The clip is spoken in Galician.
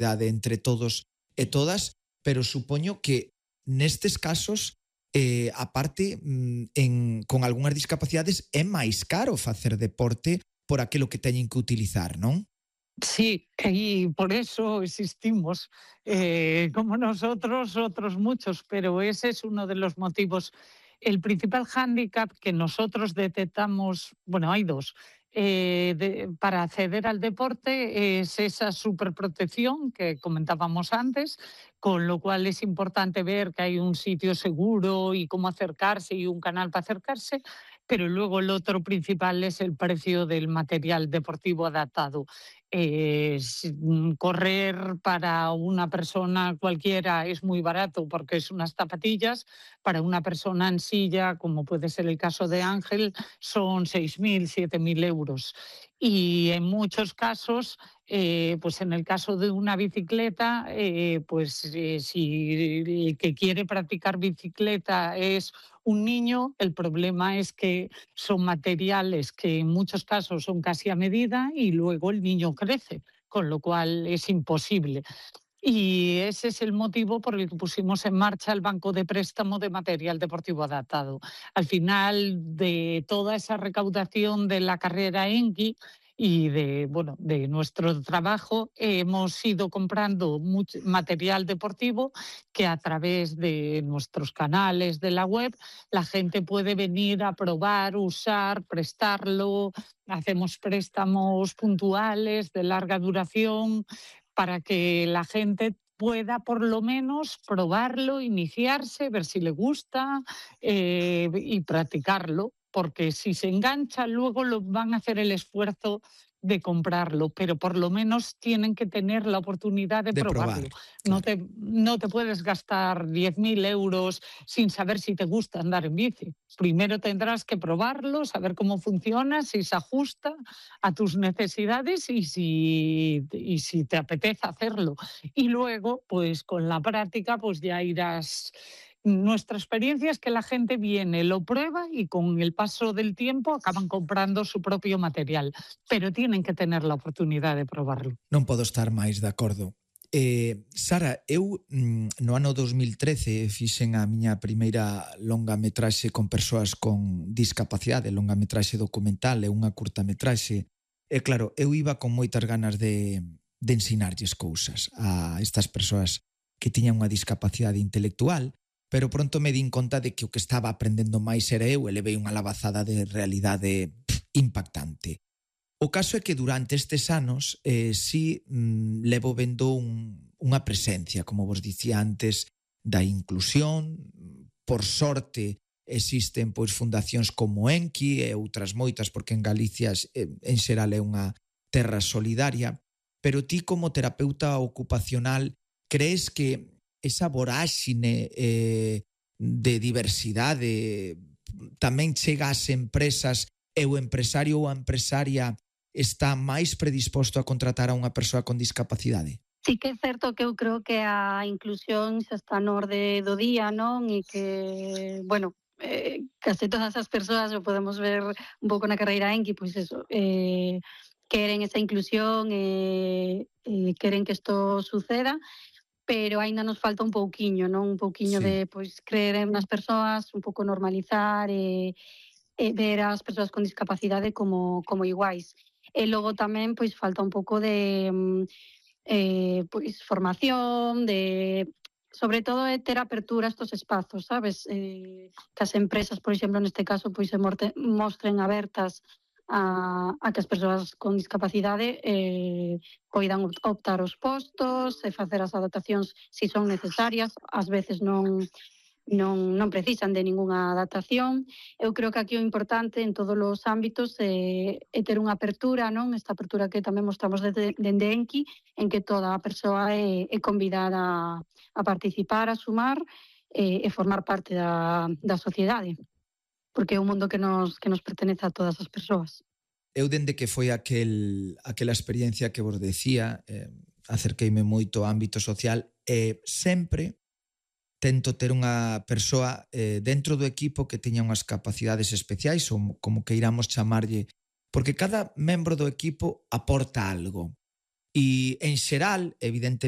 entre todos e todas, pero supoño que nestes casos, aparte, con algunhas discapacidades, é máis caro facer deporte por aquilo que teñen que utilizar, non? Sí, y por eso existimos, como nosotros, otros muchos, pero ese es uno de los motivos. El principal hándicap que nosotros detectamos, bueno, hay dos, para acceder al deporte es esa superprotección que comentábamos antes, con lo cual es importante ver que hay un sitio seguro y cómo acercarse y un canal para acercarse, pero luego el otro principal es el precio del material deportivo adaptado. Correr para una persona cualquiera es muy barato porque es unas zapatillas, para una persona en silla, como puede ser el caso de Ángel, son 6.000, 7.000 euros. Y en muchos casos, pues en el caso de una bicicleta, si el que quiere practicar bicicleta es un niño, el problema es que son materiales que en muchos casos son casi a medida y luego el niño crece, con lo cual es imposible. Y ese es el motivo por el que pusimos en marcha el banco de préstamo de material deportivo adaptado. Al final de toda esa recaudación de la carrera ENGI y de nuestro trabajo, hemos ido comprando mucho material deportivo que a través de nuestros canales de la web la gente puede venir a probar, usar, prestarlo. Hacemos préstamos puntuales de larga duración para que la gente pueda por lo menos probarlo, iniciarse, ver si le gusta y practicarlo, porque si se engancha luego lo van a hacer el esfuerzo de comprarlo, pero por lo menos tienen que tener la oportunidad de probarlo. Claro. No te puedes gastar 10.000 euros sin saber si te gusta andar en bici. Primero tendrás que probarlo, saber cómo funciona, si se ajusta a tus necesidades y si te apetece hacerlo. Y luego, pues con la práctica, pues ya irás. Nuestra experiencia es que la gente viene, lo prueba y con el paso del tiempo acaban comprando su propio material, pero tienen que tener la oportunidad de probarlo. Non podo estar máis de acordo. Sara, eu no ano 2013 fixen a miña primeira longametraxe con persoas con discapacidade, longametraxe documental e unha curtametraxe. E claro, eu iba con moitas ganas de ensinarlles cousas a estas persoas que tiñan unha discapacidade intelectual, pero pronto me din conta de que o que estaba aprendendo máis era eu e levei unha labazada de realidade impactante. O caso é que durante estes anos levo vendo unha presencia, como vos dicía antes, da inclusión. Por sorte existen pois fundacións como Enki e outras moitas, porque en Galicia en xeral é unha terra solidaria, pero ti como terapeuta ocupacional crees que esa voráxine de diversidade tamén chega ás empresas e o empresario ou a empresaria está máis predisposto a contratar a unha persoa con discapacidade? Sí que é certo que eu creo que a inclusión xa está no orde do día, non? E que, bueno, case todas as persoas, o podemos ver un pouco na carreira Enki, pois eso, queren esa inclusión e queren que isto suceda, pero aínda nos falta un pouquiño, non? Un pouquiño de pois creer nas persoas, un pouco normalizar e ver as persoas con discapacidade como iguais. E logo tamén pois falta un pouco de pois formación, sobre todo de ter apertura a estos espazos, sabes? Que as empresas, por exemplo, neste caso, pois se mostren abertas a que as persoas con discapacidade poidan optar os postos e facer as adaptacións se son necesarias. Ás veces non precisan de ningunha adaptación. Eu creo que aquí o importante en todos os ámbitos é ter unha apertura, non? Esta apertura que tamén mostramos dende Enki, en que toda a persoa é convidada a participar, a sumar e formar parte da sociedade, porque é un mundo que nos pertenece a todas as persoas. Eu, dende que foi aquela experiencia que vos decía, acerqueime moito ao ámbito social e sempre tento ter unha persoa dentro do equipo que teña unhas capacidades especiais ou como queiramos chamarlle, porque cada membro do equipo aporta algo. E en xeral, evidentemente,